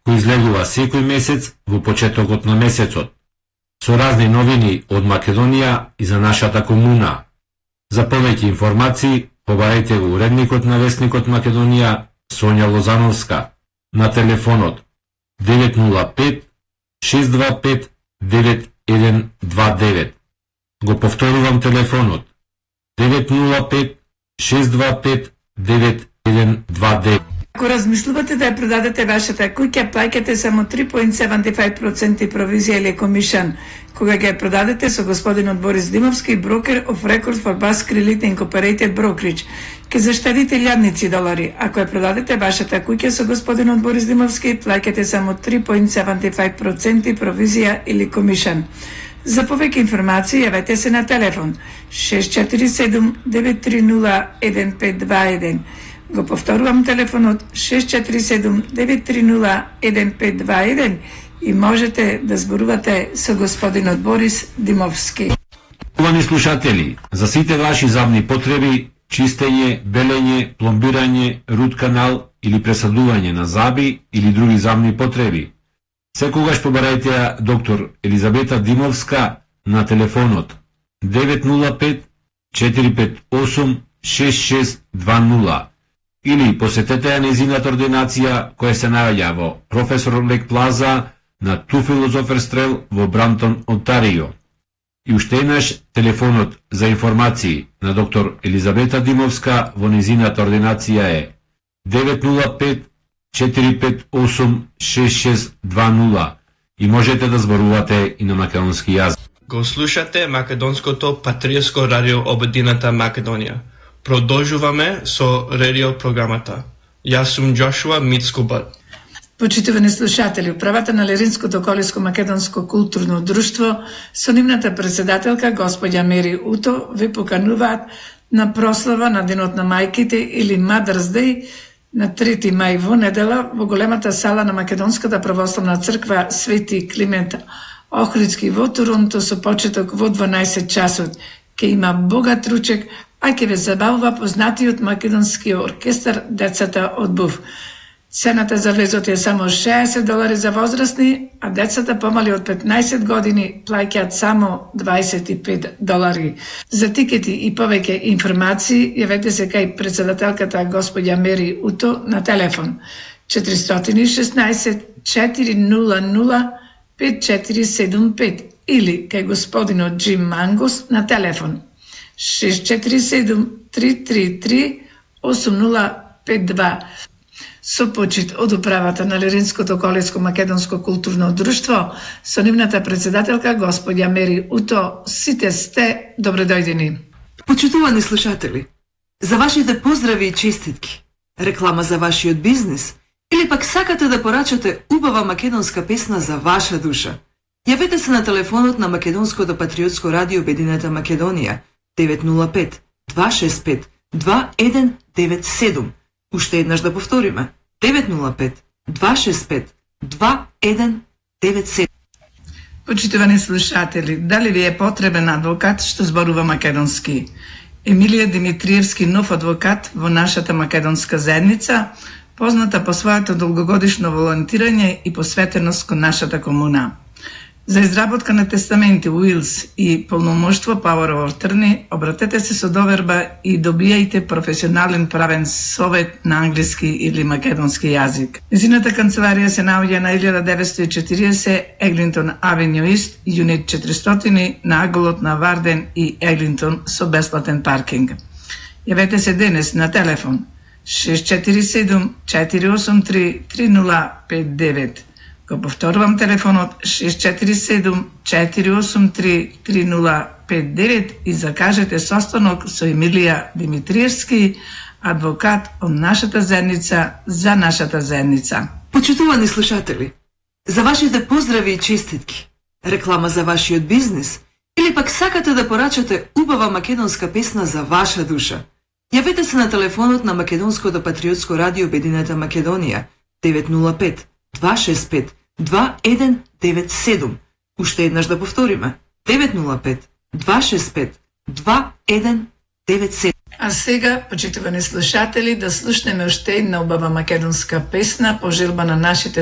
кој излегува секој месец во почетокот на месецот, со разни новини од Македонија и за нашата комуна. За повеќе информации, побарајте го уредникот на Весникот Македонија Сонја Лозановска на телефонот 905-625-9129. Го повторувам телефонот 905-625-9129. Ако размислувате да ја продадете вашата куќа, плаќате само 3.75% провизија или комишан. Кога ќе ја продадете со господинот Борис Димовски, брокер of record for Basque Realty Incorporated Brokerage, ќе заштедите илјадници долари. Ако ја продадете вашата куќа со господинот Борис Димовски, плаќате само 3.75% провизија или комишан. За повеќе информации јавете се на телефон 647-930-1521. Го повторувам телефонот 647-930-1521 и можете да зборувате со господинот Борис Димовски. Увани слушатели, за сите ваши забни потреби, чистење, белење, пломбирање, рут канал или пресадување на заби или други забни потреби, секогаш побарајте ја доктор Елизабета Димовска на телефонот 905-458-6620 или посетете ја незината ординација која се наоѓа во Професор Лек Плаза на Ту Филозофер Стрел во Брамтон, Онтарио. И уште еднаш телефонот за информации на доктор Елизабета Димовска во незината ординација е 905-458-6620 и можете да зборувате и на македонски јазик. Го слушате македонското патриотско радио Обединета Македонија. Продолжуваме со радио програмата. Јас сум Джошуа Мицкубат. Почитувани слушатели, управата на Леринското колиско македонско културно друштво со нивната председателка господја Мери Уто ви покануваат на прослава на Денот на мајките или Mother's Day на 3 мај во недела во големата сала на Македонската православна црква Свети Климент Охридски во Торонто со почеток во 12 часот. Ке има богат ручек, а ќе ве забавува познатиот македонски оркестар Децата од Був. Цената за влезот е само $60 за возрастни, а децата помали од 15 години плаќаат само $25. За тикети и повеќе информации јавете се кај председателката господја Мери Уто на телефон 416 400 5475 или кај господинот Джим Мангус на телефон 647 333 8052. Со почит од управата на Леринското колиско македонско културно друштво, со нивната председателка господја Мери Уто, сите сте добредојдени. Почитувани слушатели, за вашите поздрави и честитки, реклама за вашиот бизнис или пак сакате да порачате убава македонска песна за ваша душа, јавете се на телефонот на Македонското патриотско радио Обединета Македонија 905-265-2197. Уште еднаш да повториме 905-265-2197. Почитувани слушатели, дали ви е потребен адвокат што зборува македонски? Емилија Димитриевски, нов адвокат во нашата македонска заедница, позната по своето долгогодишно волонтирање и посветеност кон нашата комуна. За изработка на тестаменти, уилс и полномоштво Power of Attorney, обратете се со доверба и добијајте професионален правен совет на англиски или македонски јазик. Незината канцеларија се наоѓа на 1940 Еглинтон Авеню Ист, Юнит 400 на аголот на Варден и Еглинтон со бесплатен паркинг. Јавете се денес на телефон 647 483 3059. Го повторувам телефонот 647 483 3059 и закажете состанок со Емилија Димитриевски, адвокат од нашата заедница за нашата заедница. Почитувани слушатели, за вашите поздрави и честитки, реклама за вашиот бизнис или пак сакате да порачате убава македонска песна за ваша душа, јавете се на телефонот на Македонското патриотско радио Обединета Македонија 905-265-2197. Уште еднаш да повториме 905-265-2197. А сега, почитувани слушатели, да слушнеме уште една убава македонска песна по желба на нашите